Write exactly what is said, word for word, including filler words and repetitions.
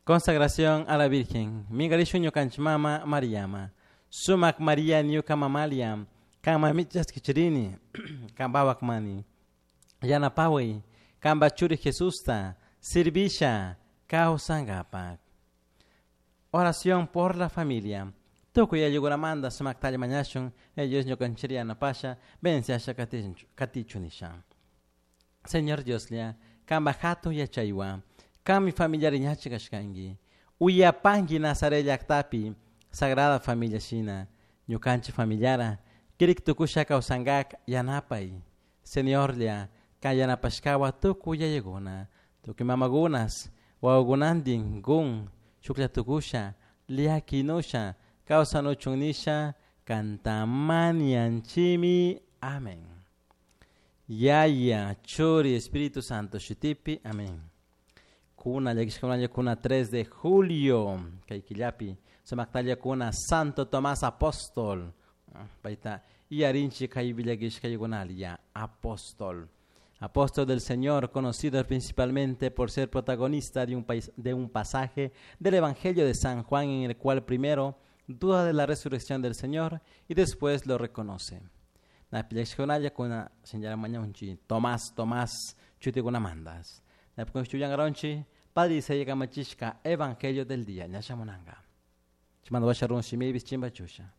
Consagración a la Virgen. Mingarishun ñukanchik mama Mariama. Sumak María ñuka mamalia. Kanmanmi chaskichirini. Kanpawak mani. Yanapaway. Kanpa churi Jesusta. Sirvisha. Kawsankapak. Oración por la familia. Tukuy ayllunamanta sumaktalla mañashun. Dios ñukanchik yanapasha. Venciasha katichun nisha. Señor Dioslla, kanpa hatun yachaywan, kanmi familiari ñachi kashkanki. Uyapanki Nazaret llaktapi, Sagrada Familia shina, ñukanchik familiara, kirik tukusha kawsankak yanapay. Señorlla, kan yanapashkawan tukuy yayakuna, tukuy mamakunas, wawakunantin kun, shuklla tukusha, llakinusha, kawsanuchun nisha, kanta mañanchimi. Amén. Yaya, Churi, Espíritu Santo, shutipi, amén. Kuna, kuna tres de julio, kay killapi, sumaktalla kuna Santo Tomás Apóstol. Paita, yarinchi kay ya, apóstol. Apóstol del Señor, conocido principalmente por ser protagonista de un, país, de un pasaje del Evangelio de San Juan en el cual primero duda de la resurrección del Señor y después lo reconoce. Na kuna señora mañanchi Tomás Tomás chutikuna mandas. Na chuyangaronchi Padre se kamachishka Evangelio del día ñashamunanga. Chimando washarun shimibis chimba chusha.